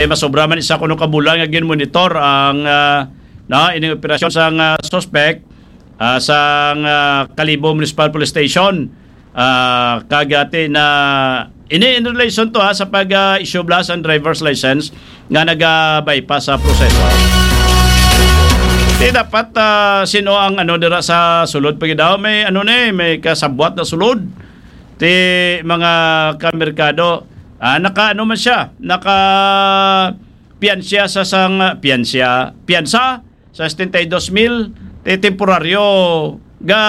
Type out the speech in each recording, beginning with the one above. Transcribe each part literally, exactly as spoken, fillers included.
Kay masobra man isa kuno ka bulan nga ginmonitor ang, ah, no, ining operasyon sang, ah, suspect, ah, sang, ah, Kalibo Municipal Police Station. Ah, kag ati na ini in relation to, ha, sa pag, ah, issue bala sang driver's license nga naga-bypass sa proseso. Di dapat, ah, sino ang ano dira sa sulod pa gid daw? May ano ni, may kasabwat na sulod. Ti mga kamerkado, ah, naka ano man siya, naka piyansa sa sang, piyansa, piyansa sa setenta y dos mil, ti temporaryo ga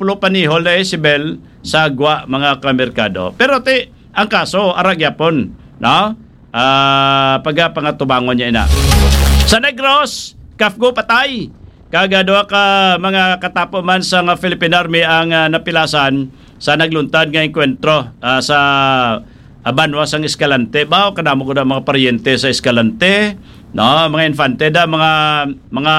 pulo panihol na isibel sa gwa mga kamerkado. Pero ti, ang kaso, ara gyapon, no? Ah, pagapangatubangon niya ina. Sa Negros, Kafgo patay. Kag, ah, duha ka mga katapo man sa nga Philippine Army ang, ah, napilasan sa nagluntad nga engkwentro, ah, sa, ah, banwa sang Escalante. Ba, kadamo ko na mga paryente sa Escalante, no? Mga infante da, mga, mga,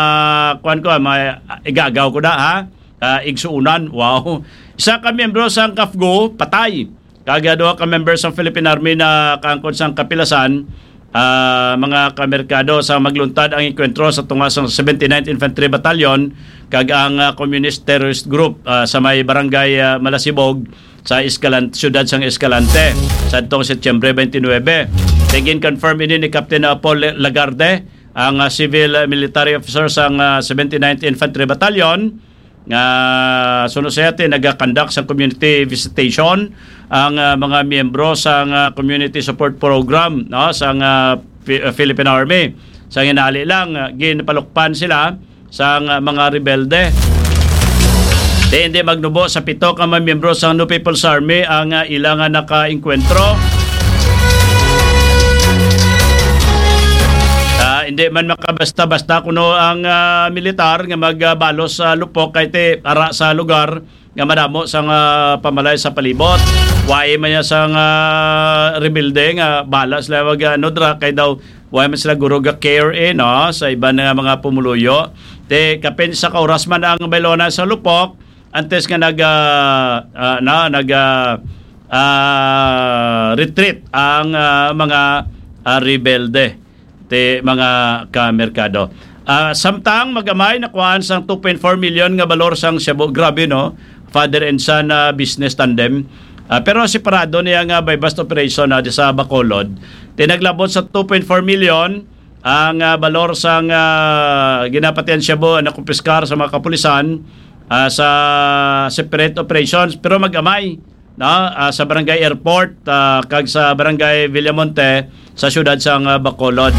kuwan ko, ah, mga igagaw ko da, ha? Ah, igsuunan. Wow. Isa ka miyembro sang Kafgo, patay. Kag duha ka members sang Philippine Army na kaangkon sang kapilasan, ah, mga kamerkado, sa magluntad ang engkwentro sa tunga sang seventy-ninth Infantry Battalion kag ang, ah, Communist Terrorist Group, ah, sa may barangay, ah, Malasibog sa Escalan-, siyudad sang Escalante sadtong Setyembre twenty-nine. Kay gin-confirm ini ni Captain, ah, Paul Lagarde, ang, ah, civil, ah, military officer sang, ah, seventy-ninth Infantry Battalion, nga suno siya ti nagakandak sa community visitation ang, ah, mga miyembro sa nga community support program, no, sa nga Fi-, ah, Philippine Army. Sa ginali lang, ah, ginpalukpan sila sa nga mga rebelde. Di hindi magnubo sa pito ka mga miyembro sa No People's Army ang, ah, ila nga nakaengkwentro. Ah, hindi man makabasta-basta kuno ang, ah, militar nga magbalos sa lupok kay ti ara sa lugar nga madamo sang, ah, pamalay sa palibot. Wai man niya sang, ah, rebelde nga bala sila mag, ano, dra, kay daw wai man sila guro ga care, eh, no, sa iban nga mga pumuluyo. Ti kapin sa ka oras man ang baylona sa lupok, antes nga nag, ah, ah, na, nag, ah, ah, retreat ang, ah, mga, ah, rebelde, ti mga kamerkado. Ah, samtang magamay nakuhaan sang two point four million nga balor sang shabu. Grabe, no? Father and son, ah, business tandem. Ah, pero separado niya nga buy-bust operation, ah, di sa Bacolod. Ti naglabot sa two point four million ang, ah, balor sang, ah, ginapatihan shabu ang nakumpiskar sa mga kapulisan, ah, sa separate operations, pero magamay, no, ah, sa Barangay Airport, ah, kag sa Barangay Villamonte sa siyudad sang, ah, Bacolod.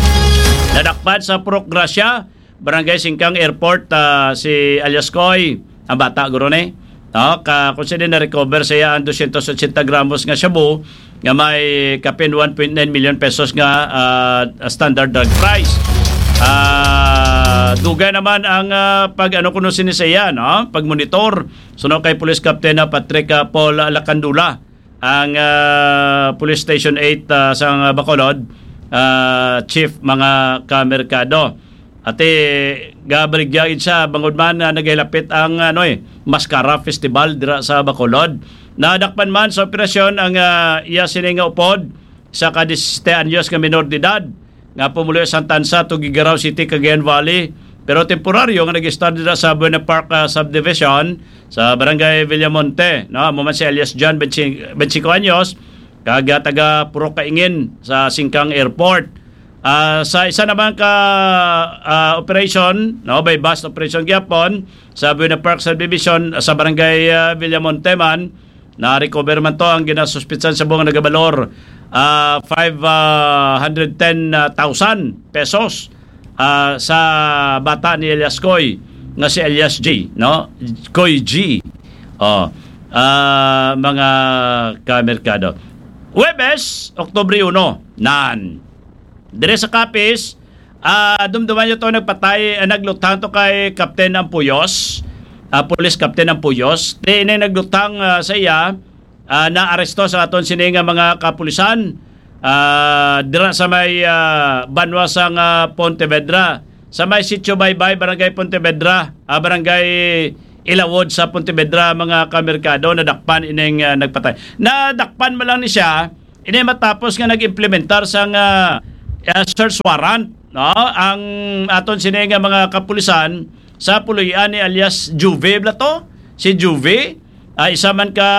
Nadakpan sa Purok Gracia, Barangay Singkang Airport, ah, si alias Koy, ang bata guro ni. No, ka, kung sino na-recover sa iya ang dosyentos otsenta gramos nga shabu nga may kapin one point nine million pesos nga, ah, standard drug price. Ah, dugay naman ang, ah, pag-ano kuno sini sa iya, no? Pagmonitor. Suno kay Police Captain, ah, Patrick, ah, Paul Lacandula, ang, ah, Police Station eight, ah, sa Bacolod, ah, Chief, mga kamerkado. Ati, gabaligya gid siya bangod man, ah, nagahilapit ang, ano, eh, Mascara Festival dira sa Bacolod. Nadakpan man sa operasyon ang, ah, iya sini nga upod, isa ka disisiete anyos nga minor de edad nga pumuloy sa Santa Rosa, Tuguegarao City, Cagayan Valley, pero temporaryo nga nag-stay dira sa Buena Park, ah, Subdivision sa Barangay Villamonte, no? Amo man si alias John, twenty, twenty-five anyos, kag, ah, taga Purok Kaingin sa Singkang Airport. Ah, sa isa naman ka, ah, operation, no, buy-bust operation gyapon sa Buena Park Subdivision, sa Barangay, ah, Villamonte man, na-recover man to ang ginasuspitsan sa buong nagabalor, ah, five hundred ten thousand pesos, ah, sa bata ni alias Koy, nga si alias G, no? Koy G. Oh, ah, mga kamerkado. Huwebes, Oktubre uno, nan. Dire sa Capiz, ah, dumduman niyo to, nagpatay, ah, nagluthang to kay Captain Ampuyos, ah, Police Captain Ampuyos. Di ini nagluthang, ah, sa iya, ah, naaresto sa aton sini nga mga kapulisan, ah, dira sa may, ah, banwa sang, ah, Pontevedra, sa may Sitio Baybay, Barangay Pontevedra, ah, Barangay Ilawod sa Pontevedra, mga kamerkado, nadakpan ining, ah, nagpatay. Nadakpan man lang ni siya, ini matapos nga nag-implementar sang, ah, ah, search warrant, no? Ang aton sini nga mga kapulisan sa puloy-an ni alias Juve bala to, si Juve, ah, isa man ka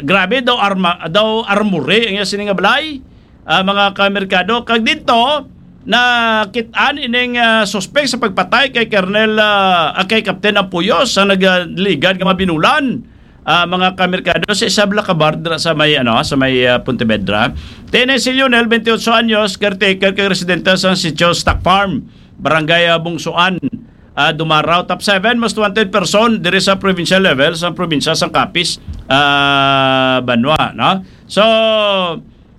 grabe daw arma, daw armory ang iya sini nga balay, ah, mga kamerkado. Kag dito, nakit-an ining, ah, suspek sa pagpatay kay Colonel, ah, ah, kay Captain Ampuyos sa nagligad nga mga binulan, ah, mga kamerkado, sa isa bala ka bar dira sa may, ano, sa may, ah, Pontevedra. Tiene si Lionel, twenty-eight anyos, caretaker kag residente sa Sitio Stock Farm, Barangay, ah, Bungsuan, ah, Dumarao. Top seven most wanted person diri sa provincial level sa probinsya sang Capiz, ah, banwa, no? So,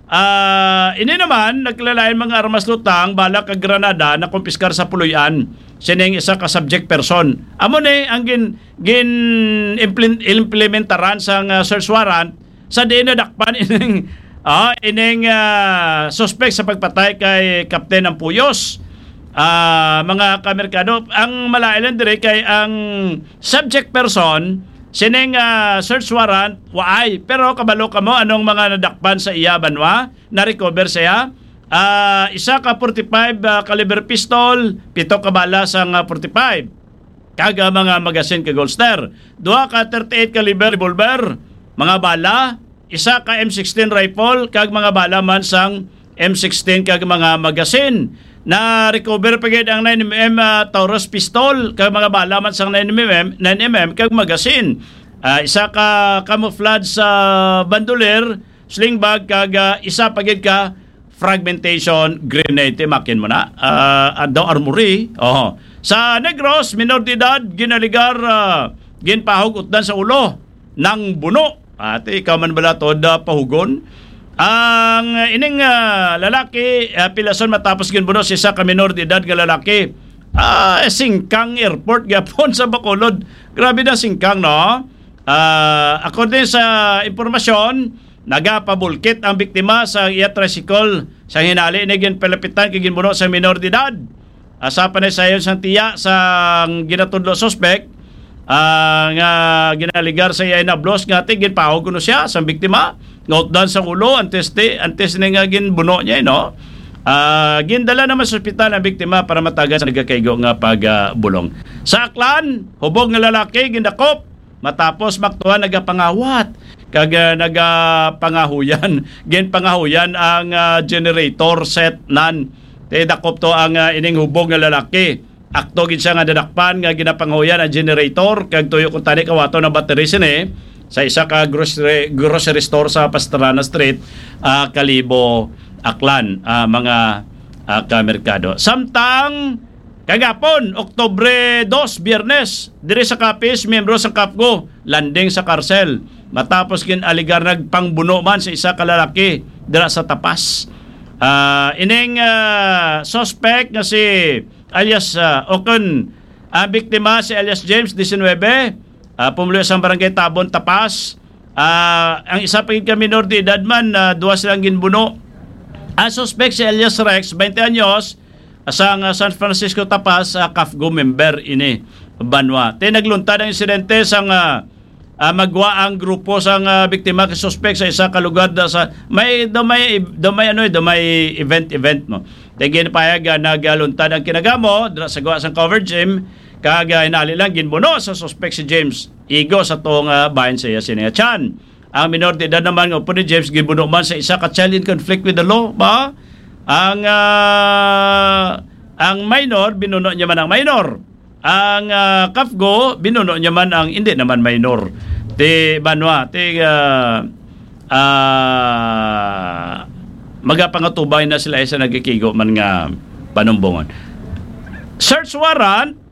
ah, ini naman, nagkilalain mga armas, lutang, bala kag granada na kumpiskar sa puloy-an sining isa ka subject person. Amo ni ang gin, gin implin-, implementaran sang, ah, search warrant sa diin nadakpan ining, ah, ining, ah, suspek sa pagpatay kay Captain Ampuyos. Ah, mga kamerkado, ang malain lang diri kay ang subject person sining, ah, search warrant waay, pero kabalo kamo anong mga nadakpan sa iya, banwa, na-recover sa iya? Ah, isa ka forty-five, ah, caliber pistol, pito ka bala sang, ah, forty-five, kag, ah, mga magasin kag holster. Duha ka thirty-eight caliber revolver, mga bala, isa ka M sixteen rifle, kag mga bala man sang M sixteen kag mga magasin. Na-recover pa gid ang nine M M, ah, Taurus pistol, kag mga bala man sang nine M M, nine M M kag magasin. Ah, isa ka camouflage sa bandolier, sling bag, kag, ah, isa pa gid ka fragmentation grenade. Timakin mo na. Ah, ah, daw armory. Oho. Sa Negros, minor de edad, ginaligar, ah, ginpahog utdan sa ulo, nang buno. Ate, ikaw man bala to da pahugon? Ang, ah, ining, ah, lalaki, ah, pilason matapos ginbuno sa isa ka minor de edad nga lalaki. Ah, singkang airport gyapon sa Bacolod. Grabe na singkang, no? Ah, according sa impormasyon, nagapabulkit ang biktima sa iya tricycle. Sa hinali ni ginpalapitan kay ginbuno sa minor de edad. Asa pa ni sayon sang tiya sang ginatudlo suspek, ah, nga ginaligar sa iya inablos nga ti ginpahog kuno siya sang biktima nga utdan sa ulo antes ti, antes ni nga ginbuno niya, no? Ah, gindala naman sa ospital ang biktima para matagan sa nagakaigo nga pagbulong. Sa Aklan, hubog nga lalaki gindakop matapos maktuhan nagapangawat kag, ah, nagapangahuyan. Ginpangahuyan ang, ah, generator set nan. Ti dakop to ang, ah, ining hubog nga lalaki. Akto gid siya nga nadakpan nga ginapangahuyan ang generator kag tuyo kuntani kawaton ang battery sini sa isa ka grocery, grocery store sa Pastrana Street, ah, Kalibo, Aklan, ah, mga, ah, kamerkado. Samtang kagapon, Oktubre dos, Biyernes, diri sa Capiz, miyembro sang CAFGU landing sa karsel matapos gin-aligar nagpangbuno man sa isa ka lalaki dira sa Tapas. Ah, ining, ah, suspect nga si alias, ah, o kon ang biktima si alias James, diecinuebe, ah, pumuluyo sang Barangay Tabon, Tapas. Ah, ang isa pa gid ka minor de edad man, ah, duha silang ginbuno. Ang suspect si alias Rex, twenty anyos, sang, ah, San Francisco, Tapas, ah, CAFGU member ini, banwa. Ti nagluntad ang insidente sang, ah, ah, magwa ang grupo sang, ah, biktima kay suspek sa isa ka lugar da sa may, daw may, daw may, ano, eh, daw may event, event mo. Ti ginpahayag nga nagaluntad ang kinagamo dira sa gwa sang cover gym, kag, ah, hinali lang ginbuno sa suspek si James. Igo sa tuo nga bahin sa iya sini nga tiyan. Ang minor de edad naman nga upod ni James ginbuno man sa isa ka child in conflict with the law ba? Ang, ah, ang minor, binuno niya man ang minor. Ang, ah, CAFGU, binuno niya man ang hindi naman minor. Ti banwa, ti, ah, ah, magapangatubay na sila sa nagkikigo man nga panumbongon. Search warrant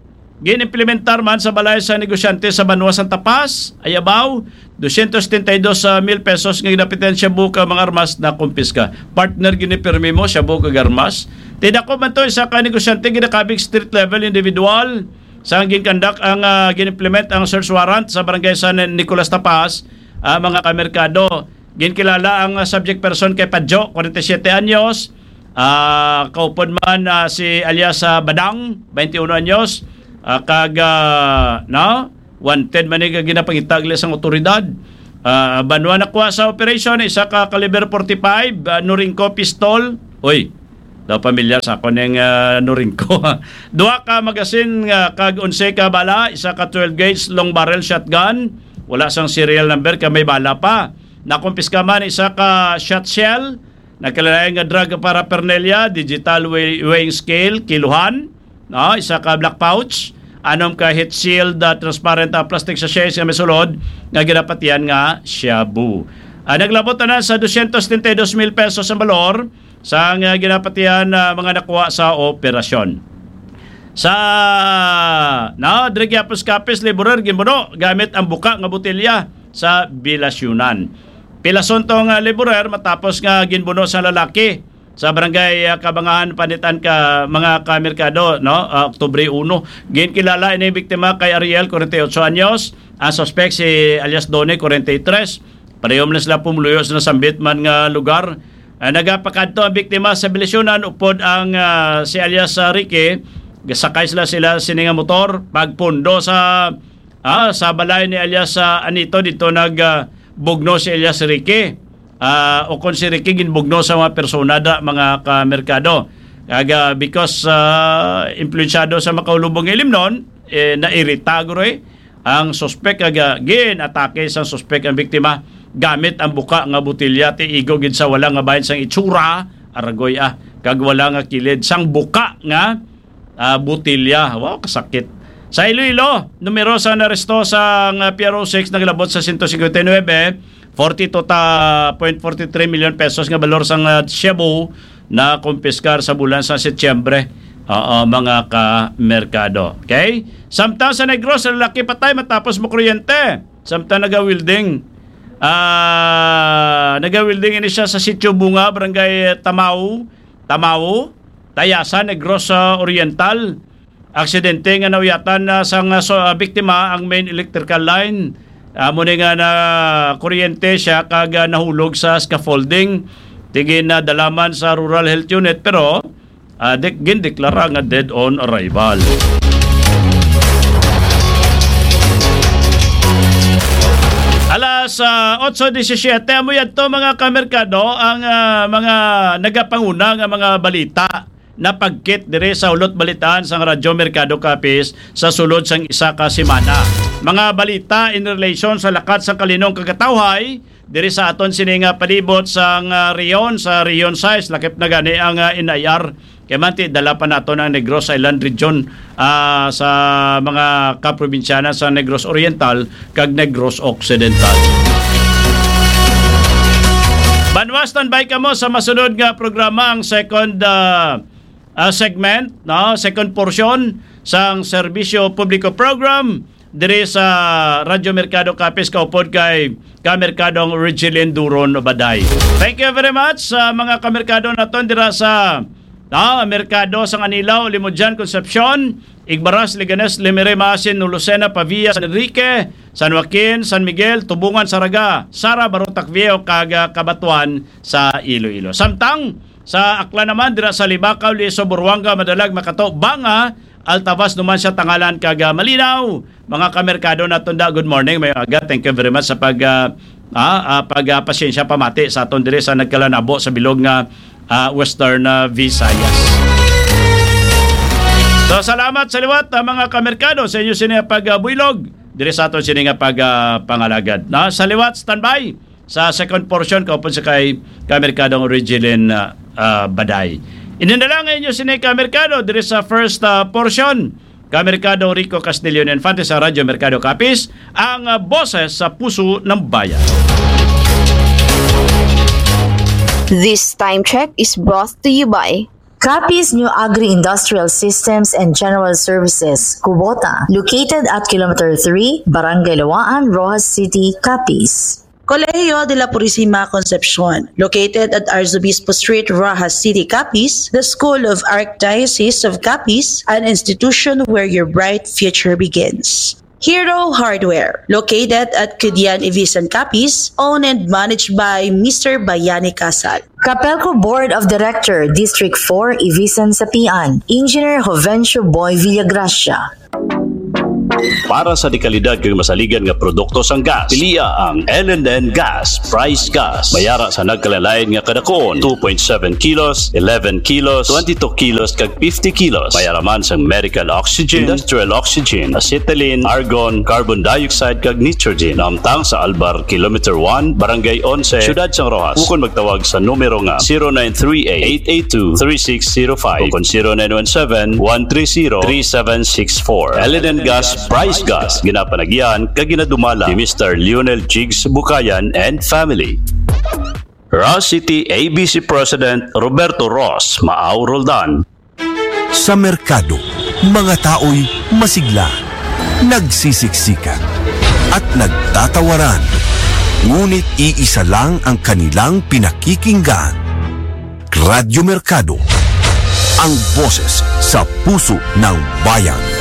gin-implementar man sa balay sa negosyante sa banwa sang Tapas, Ayabao, dosyentos setenta y dos mil pesos nga ginapitian, shabu kag mga armas na kumpiska. Partner, ginipirmi mo, shabu kag armas. Ti dakop man to, isa ka negosyante ginakabig street level individual. Sa ginkandak ang, ah, gin-implement ang search warrant sa barangay San Nicolas, Tapas, ah, mga kamerkado. Ginkilala ang, ah, subject person kay Padjo, forty-seven anyos. Ah, kaupod man, ah, si alias, ah, Badang, twenty-one anyos. Ah, kag, ah, no? Wanted man ni, ginapangitag sang otoridad. Ah, banwa, nakuha sa operation, isa ka caliber forty-five, ah, Norinco pistol. Oy, Daw pamilyar sa ako ning, ah, Norinco. Duha ka magasin nga kag onse ka bala, isa ka twelve gauge long barrel shotgun, wala sang serial number kag may bala pa. Nakumpiska man isa ka shot shell, nagkalain-lain nga drug paraphernalia, digital weigh-, weighing scale, kiluhan, no? Isa ka black pouch, anom ka heat sealed, ah, transparent, ah, plastic sachets nga may sulod nga ginapatihan nga shabu. Ah, naglabot na sa dosyentos setenta y dos mil pesos ang balor sang, ah, ginapatihan, ah, mga nakuha sa operasyon. Sa, no, diri gyapon sa Capiz, laborer ginbuno gamit ang buka nga botelya sa Bilasyunan. Pilason tong, ah, laborer matapos nga ginbuno sa lalaki sa barangay, ah, Kabangahan, Panitan ka mga kamerkado, no? Ah, Oktubre uno. Ginkilala ining biktima kay Ariel, forty-eight anyos. Ang suspek si alias Donnie, forty-three. Pareho man sila pumuluyo sa nasambit man nga lugar. Ah, nagapakadto ang biktima sa Bilasyunan upod ang, ah, si alias, ah, Ricky. Gasakay sila, sila sini nga motor. Pagpundo sa, ah, sa balay ni alias, ah, Anito, dito nag, ah, bugno si alias Ricky. Ah, o kung si Ricky ginbugno sa mga persona da, mga kamerkado. Kag, ah, because, ah, influensyado sa makaulubong nga ilimnon, eh, nairita guro, eh, ang suspek, kag, ah, gin-atake sang suspek ang biktima gamit ang buka nga botelya, ti igo gid sa wala nga bahin sang itsura, aragoy, ah, kag wala nga kilid sang buka nga, ah, botelya. Wow, kasakit. Sa Iloilo, numero sa naresto sang, ah, P R O six naglabot sa siyento singkwenta y nuebe, forty-two ta-, point forty-three million pesos nga balor sang, ah, shabu na kumpiskar sa bulan sa Setyembre. Oo, mga ka-merkado. Okay? Samtang sa Negros, lalaki patay matapos makuryente. Samtang naga-welding. Ah, naga-welding ini siya sa Sitio Bunga, Barangay Tamao, Tamao, Tayasan, Negros, ah, Oriental. Aksidente nga nauyatan na sang, ah, so, ah, biktima ang main electrical line. Amo ni nga na kuryente siya kag, ah, nahulog sa scaffolding. Tigin na dalaman sa Rural Health Unit, pero, ah, dik-, gindeklara nga dead on arrival. Alas, ah, otso disisiete, amo yadto, mga kamerkado, ang, ah, mga nagapanguna nga mga balita napagkit diri sa Hulot Balitaan sang Radyo Merkado Capiz sa sulod sang isa ka semana. Mga balita in relation sa lakat sang kalinong kagatawhay diri sa aton sini nga palibot sang, ah, rehiyon, sa Rehiyon sais, lakip na gani ang, ah, N I R. Kay manti, dala pa naton ang Negros Island Region, ah, sa mga kaprobinsyanan sa Negros Oriental kag Negros Occidental. Banwa, standby kamo sa masunod nga programa, ang second, ah, ah, segment, no? Second portion sang Serbisyo Publiko Program diri sa Radyo Merkado Capiz, kaupod kay Kamerkadong Regilin Duron Baday. Thank you very much sa mga kamerkado naton dira sa, ah, Merkado sang Anilao, Limudyan, Concepcion, Igbaras, Leganes, Limere, Maasin, Lucena, Pavia, San Enrique, San Joaquin, San Miguel, Tubungan, Saraga, Sara, Barotac Viejo, kag, ah, Cabatuan sa Iloilo. Samtang sa Aklan naman, dira sa Libacao, Liso, Buruanga, Madalag, Makato, Banga, Altavas, Numancia, Tangalan, kag, ah, Malinaw. Mga kamerkado naton da, good morning, may aga. Thank you very much sa pag, ah, ah, ah, pag, ah, pasyensya pamati sa aton diri sa nagkalanabo sa bilog nga, ah, Western, ah, Visayas. So, salamat sa liwat, ah, mga kamerkado, sa inyo sini nga pag, ah, buylog diri sa aton sini nga pag, ah, pangalagad. Na, sa liwat, standby sa second portion, kaupod sa kay Kamerkadong Regilin, ah, ah, Baday. Ini na lang inyo sini, Kamerkado, diri sa first, ah, portion. Kamerkadong Rico Castillo Infante sa Radyo Merkado Capiz, ang, ah, boses sa puso ng bayan. This time check is brought to you by Capiz New Agri-Industrial Systems and General Services, Kubota, located at Kilometer three, Barangay Lawaan, Roxas City, Capiz. Colegio de la Purisima Concepcion, located at Arzobispo Street, Roxas City, Capiz, the School of Archdiocese of Capiz, an institution where your bright future begins. Hero Hardware, located at Kidian, Ivisan, Capiz, owned and managed by Mister Bayani Casal. Capelco Board of Director, District four, Ivisan, Sapian, Engineer Jovencio Boy Villagracia. Para sa dekalidad kag masaligan nga produkto sang gas, pilia ang L and N Gas Price Gas. Mayara sa nagkalain-lain nga kadakuon, two point seven kilos, eleven kilos, twenty-two kilos, kag fifty kilos. Mayara man sang medical oxygen, industrial oxygen, acetylene, argon, carbon dioxide, kag nitrogen. Naamtang sa Albar Kilometer one, Barangay Onse, Siyudad sang Roxas. Ukon magtawag sa numero nga zero nine three eight, eight eight two, three six zero five o kon zero nine one seven, one three zero, three seven six four. L and N Gas Price Gas, ginapanagyan kag ginadumala ni Mister Lionel Jigs Bukayan and family. Roxas City A B C President Roberto Ross Maau Roldan. Sa merkado, mga tao'y masigla, nagsisiksikan, at nagtatawaran. Ngunit iisa lang ang kanilang pinakikinggan. Radyo Merkado, ang boses sa puso ng bayan.